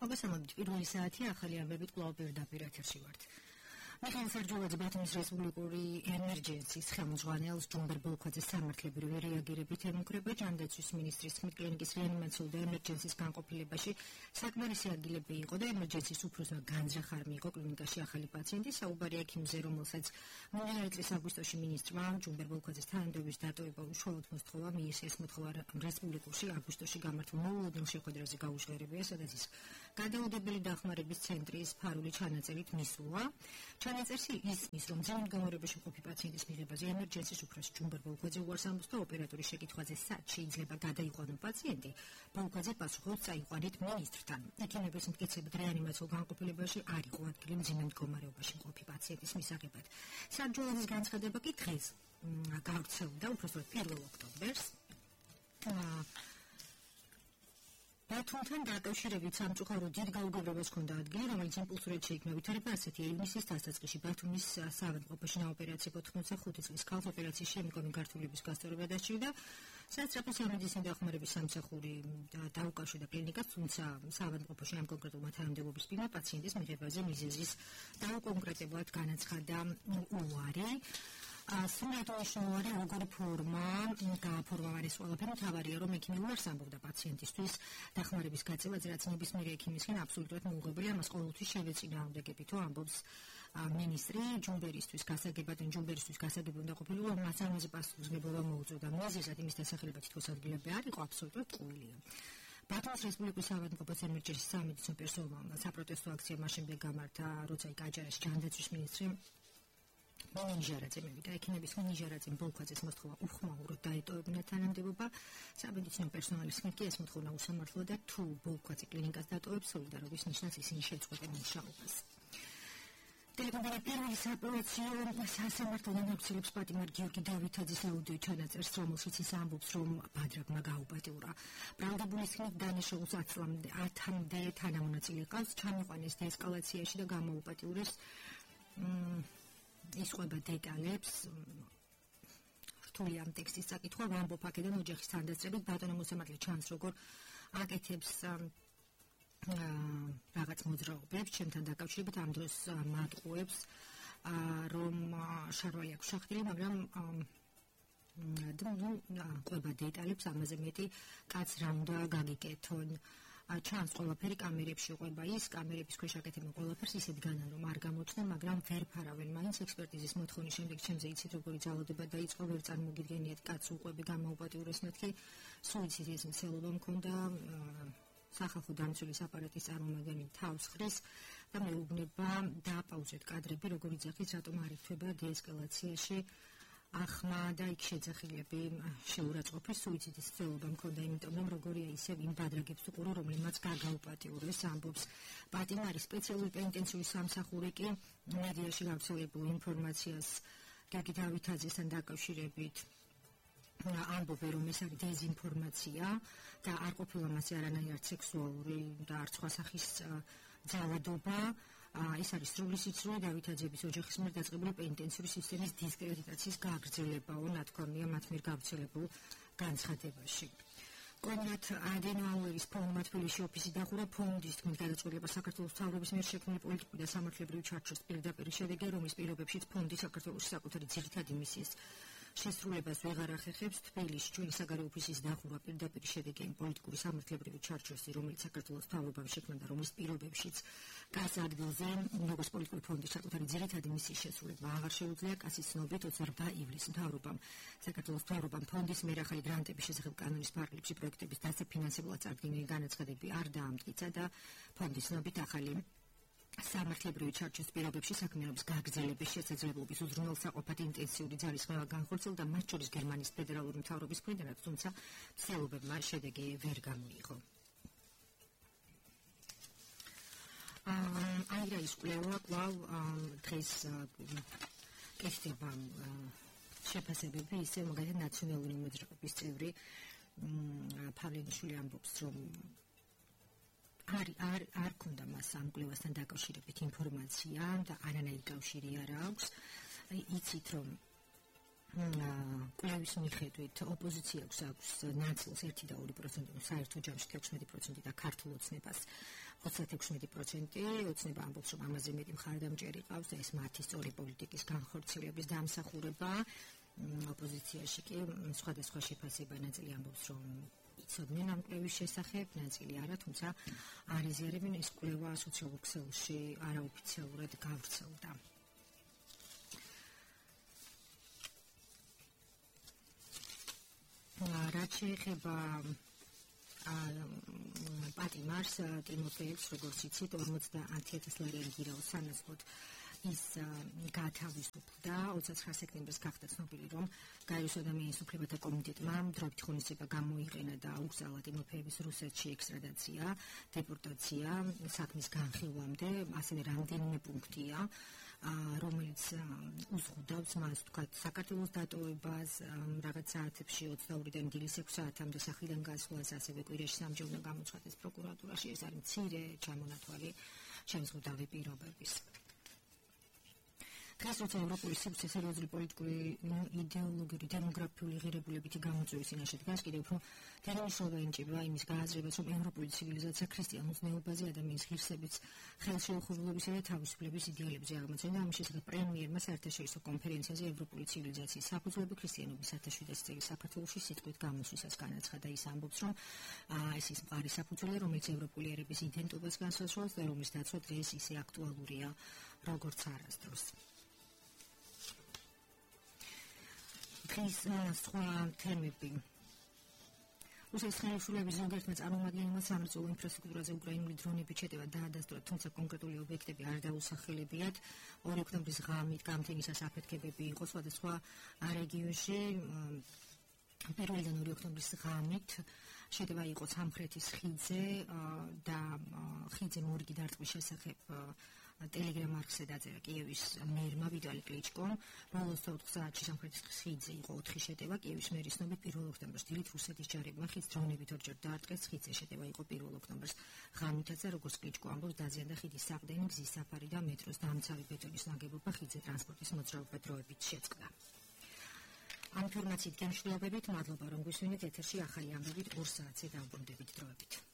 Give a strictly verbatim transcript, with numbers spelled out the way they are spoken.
მოგესალმებით, პირველი საათი ახალი ამბებით კვლავ პირდაპირ ეთერში ვართ. მიხეილ სარჯულაძე ბათუმის რესპუბლიკური ემერჯენსის ხელმძღვანელს ჯუმბერ ბოლქვაძეს სამართლებრივი რეაგირებით ემუქრება ჯანდაცვის მინისტრის თქმით კლინიკის რეანიმაციულ და ემერჯენსის განყოფილებაში საკმარისი ადგილები იყო და ემერჯენსის უფროსმა განზრახ არ მიიღო კლინიკაში ახალი პაციენტი საუბარია ექიმზე, რომელსაც მომდევნო წლის აგვისტოში მინისტრმა ჯუმბერ ბოლქვაძეს თანამდებობის დატოვება უშუალოდ მოსთხოვა მიისეს მოთხოვა რესპუბლიკურში აგვისტოში გამართულ მოულოდნელ შეხვედრაზე გაუჟღერებია, სადაც ის გადაუდებელი დახმარების ცენტრის ფარული ჩანაწერით მისულა. ჩანაწერში ისმის, რომ ძველ მდგომარეობაში მყოფი პაციენტის მიღებაზე ემერჯენსის უფროს ჯუმბერ ბოლქვაძე უარს ამბობს და ოპერატორის შეკითხვაზე სად შეიძლება გადაიყვანო პაციენტი, ბოლქვაძე პასუხობს წაიყვანით მინისტრთან. ექიმების მტკიცებით რეანიმაციულ განყოფილებაში არ იყო ადგილი მძიმე მდგომარეობაში მყოფი პაციენტის მისაღებად. სარჯულაძის განცხადება კი დღეს გავრცელდა, უпростоოდ პირველ ოქტომბერს. ბათუმთან დაკავშირებით სამწუხაროდ დიდ გაუგებრობას ჰქონდა ადგილი, რომელიც იმპულსურად შეიქმნა ვითარება ასეთი ივნისის დასაწყისში ბათუმის საავადმყოფოში ნაოპერაციო ოთხმოცდახუთი წლის ქალს ოპერაციის შემდგომი გართულების გასწორება დასჭირდა. სასწრაფო სამედიცინო დახმარების სამსახური დაუკავშირდა კლინიკას, თუმცა საავადმყოფოში ამ კონკრეტულმა თანამდებობის პირმა პაციენტის მიღებაზე მიზეზის დაუკონკრეტებლად განაცხადა უარი. სრულად მნიშვნელოვანი როგორი ფორმა გააფორმა ეს ყველაფერი, მთავარია რომ ექიმი უარს ამბობდა პაციენტისთვის დახმარების გაწევაზე, რაც ნებისმიერ ექიმისგან აბსოლუტურად მოუღებელია, ამას ყოველთვის შევეწინააღმდეგებით, ამბობს მინისტრი ჯუმბერისთვის გასაგებად ან ჯუმბერისთვის გასაგებად უნდა ყოფილიყო, მას ამაზე პასუხისმგებლობა მოუწევდა. მიზეზად იმის დასახელება თითქოს ადგილები არ იყო, აბსოლუტურად ტყუილია. ბათუმის რესპუბლიკის საავადმყოფოს ემერჯენსის სამედიცინო პერსონალმა საპროტესტო აქცია მას შემდეგ გამართა, როცა იქ აჯარაში ჯანდაცვის მინისტრი მინიჟარაძე მივიდა ექიმების მინიჟარაძემ ბოლქვაძეს მოსთხოვა უხმაუროდ დაეტოვებინა თანამდებობა. სამედიცინო პერსონალის თქმით კი ეს მოთხოვნა უსამართლოა და თუ ბოლქვაძე კლინიკას დატოვებს, სოლიდარობის ნიშნავს ისინი შეწყვეტენ მუშაობას. ტელეკომპანია პირველი საოპერაციო სასამართლო განაცხადებს პატიმარ გიორგი დავითაძის აუდიო ჩანაწერს, რომელშიც ის ამბობს, რომ ბადრაგმა გაუპატიურა. ბრალდებული თქმით დანაშაულს ათამდე თანამონაწილე ყავს, ჩამიყვანეს დეესკალაციაში და გამოუპატიურეს. ისყვება დეტალებს რთული ამ ტექსტის წაკითხვა ვამბობ აქედან ოჯახის თანდასწრებით ბატონო მოსამართლე ჩანს როგორ აკეთებს რაღაც მოძრაობებს ჩემთან დაკავშირებით ამ დროს მატყუებს რომ შარვალი აქვს შახტილი, მაგრამ ყვება დეტალებს ამაზე მეტი კაც რა უნდა გაგიკეთონ. ჩანს ყველაფერი კამერებში ყვება ის, კამერების ქვეშ აკეთებენ ყველაფერს ისეთ განან რომ არ გამოჩნდნენ, მაგრამ ვერ ფარავენ. მაინც ექსპერტიზის მოთხოვნის შემდეგ ჩემზე იცით როგორი ძალადება დაიწყო, ვერ წარმოგიდგენიათ კაც უყვები გამოუპატიურეს მეთქი, სუიციდის მცდელობა მქონდა, სახალხო დამცველის აპარატის წარმომადგენელი თავს ხრის და მეუბნება დააპაუზეთ კადრები, როგორ იძახით, რატომ არ ითვება დეესკალაციაში ახმა და იქ შეძახილები შეურაცხყოფის სუიციდის მცდელობა მქონდა, იმიტომ რომ როგორია ისევ იმ ბადრაგებს უყურო, რომლებმაც გაგაუპატიურეს, ამბობს პატიმარის სპეციალური პენიტენციური სამსახური კი მედიაში გავრცელებულ ინფორმაციას გიორგი დავითაძესთან დაკავშირებით ამბობენ, რომ ეს არის დეზინფორმაცია და არ ყოფილა მასზე არანაირი სექსუალური და არც სხვა სახის ძალადობა. ეს არის სრული სიცრუე დავითაძეების ოჯახის მიერ დაწყებული პენიტენციური სისტემის დისკრედიტაციის გაგრძელებაო, ნათქვამია მათ მიერ გავრცელებულ განცხადებაში. კონრად ადენაუერის ფონდმა თბილისში ოფისი დახურა. ფონდის თქმით გადაწყვეტილება საქართველოს მთავრობის მიერ შექმნილი პოლიტიკური და სამართლებრივი ჩარჩოს პირდაპირ შედეგია, რომლის პირობებშიც ფონდი საქართველოს საკუთარი ძირითადი მისიის შესრულებას ვეღარ ახერხებს. თბილისში ჩვენი საგარეო ოფისის დახურვა პირდაპირ შედეგია იმ პოლიტიკური სამართლებრივი ჩარჩოსი, რომელიც საქართველოს მთავრობამ შექმნა და რომლის პირობებშიც გას ადგილზე როგორც პოლიტიკური ფონდის საკუთარი ძირითადი მისიის შესრულება აღარ შეუძლია. კასის ცნობით ოცდაორბა ივლისს მთავრობამ საქართველოს მთავრობამ ფონდის მიერ ახალი გრანტების შესახებ კანონის ფარგლებში პროექტების დასაფინანსებლად წარდგენილი განაცხადები არ დაამტკიცა და ფონდის ცნობით ახალი სამართლებრივი ჩარჩოს პირობებში საქმიანობის გაგრძელების შესაძლებლობის უზრუნველსაყოფად ინტენსიური ძალისხმევა განხორციელდა, მათ შორის გერმანიის ფედერალური მთავრობის მხრიდანაც, თუმცა მცდელობებმა შედეგი ვერ გამოიღო. აირა ის კვლევა კვლავ დღეს კეთდება შეფასებები, ისე მაგალითად ნაციონალური მოძრაობის წევრი პავლენიშვილი ამბობს, რომ არ არ არ ქონდა მას ამ კვლევასთან დაკავშირებით ინფორმაცია და არანაირი კავშირი არ აქვს. იცით რომ კვლევის მიხედვით ოპოზიციას აქვს ნაწილს ერთი და ორი პროცენტი, საერთო ჯამში ექვსმეტი პროცენტი და ქართულ ოცნებას ოცდაექვსი პროცენტი ოცნება ამბობს, რომ ამაზე მეტი მხარდამჭერი ყავს და ეს მათი სწორი პოლიტიკის განხორციელების დამსახურება. ოპოზიციაში კი სხვადასხვა შეფასება, ნაწილი ამბობს, რომ იცოდნენ ამ კვლევის შესახებ, ნაწილი არა, თუმცა არ იზიარებენ, ეს კვლევა სოციალურ ქსელში არაოფიციალურად გავრცელდა. რაც შეეხება პატიმარს, ტიმოფეევს, როგორც იცით, ორმოცდაათი ათასი ლარიანი გირაოს სანაცვლოდ ის გაათავისუფლდა. ოცდაცხრა სექტემბერს გახდა ცნობილი, რომ გაეროს ადამიანის უფლებათა კომიტეტმა დროებით ღონისძიება გამოიყენა და აუკრძალა ტიმოფეევის რუსეთში ექსტრადაცია, დეპორტაცია საქმის განხილვამდე, ასევე რამდენიმე პუნქტია, რომელიც უზღუდავს მას თქვათ საქართველოს დატოვებას, რაღაც საათებში ოცდაორიდან დილის ექვსი საათამდე სახლიდან გასვლას, ასევე კვირაში სამჯერ უნდა გამოცხადდეს პროკურატურაში. ეს არის მცირე ჩამონათვალი შემზღუდავი პირობების. დღეს როცა ევროპული სივრცე სერიოზული პოლიტიკური, იდეოლოგიური, დემოგრაფიული ღირებულებითი გამოწვევის წინაშე დგას, კიდევ უფრო მნიშვნელობა ენიჭება იმის გააზრებას, რომ ევროპული ცივილიზაცია ქრისტიანულ ზნეობაზე, ადამიანის ღირსების, ხელშეუხურებლობისა და თავისუფლების იდეალებზე აღმოცენდა. ამის შესახებ პრემიერმა საერთაშორისო კონფერენციაზე ევროპული ცივილიზაციის საფუძვლები ქრისტიანობის საერთაშორისო წელი საქართველოში სიტყვით გამოსვლისას განაცხადა. ის ამბობს, რომ ეს ის მყარი საფუძველი, რომელიც ევროპული ერების იდენტობას განსაზღვრავს და რომლის დაცვა დღეს ისე აქტუალურია, როგორც არასდროს. დღის სხვა თემები. რუსეთის ხელისუფლების ზოგიერთმა წარმომადგენელმა სამრეწველო ინფრასტრუქტურაზე უკრაინული დრონებით შეტევა დაადასტურა, თუმცა კონკრეტული ობიექტები არ დაუსახელებიათ. ორი ოქტომბრის ღამით გამთენისას აფეთქებები იყო სხვადასხვა რეგიონში. პირველიდან ორი ოქტომბრის ღამით შეტევა იყო სამხრეთის ხიდზე და ხიდზე მორიგი დარტყმის შესახებ ტელეგრამ არხზე დაწერა კიევის მერმა ვიტალი კლიჩკომ. ბოლოს ოთხ საათში სამხრეთის ხიდზე იყო ოთხი შეტევა. კიევის მერის ცნობით პირველ ოქტომბერს დილით რუსეთის ჯარებმა ხიდს დრონებით ორჯერ დაარტყეს. ხიდზე შეტევა იყო პირველ ოქტომბერს ღამითაც და როგორც კლიჩკო ამბობს, დაზიანდა ხიდის საყრდენი, გზის საფარი და მეტროს დამცავი ბეტონის ნაგებობა. ხიდზე ტრანსპორტის მოძრაობა დროებით შეწყდა. ამ ინფორმაციით გემშვიდობებით, მადლობა რომ გვისმინეთ ეთერში ახალი ამბებით ორ საათზე დავბრუნდებით დროებით.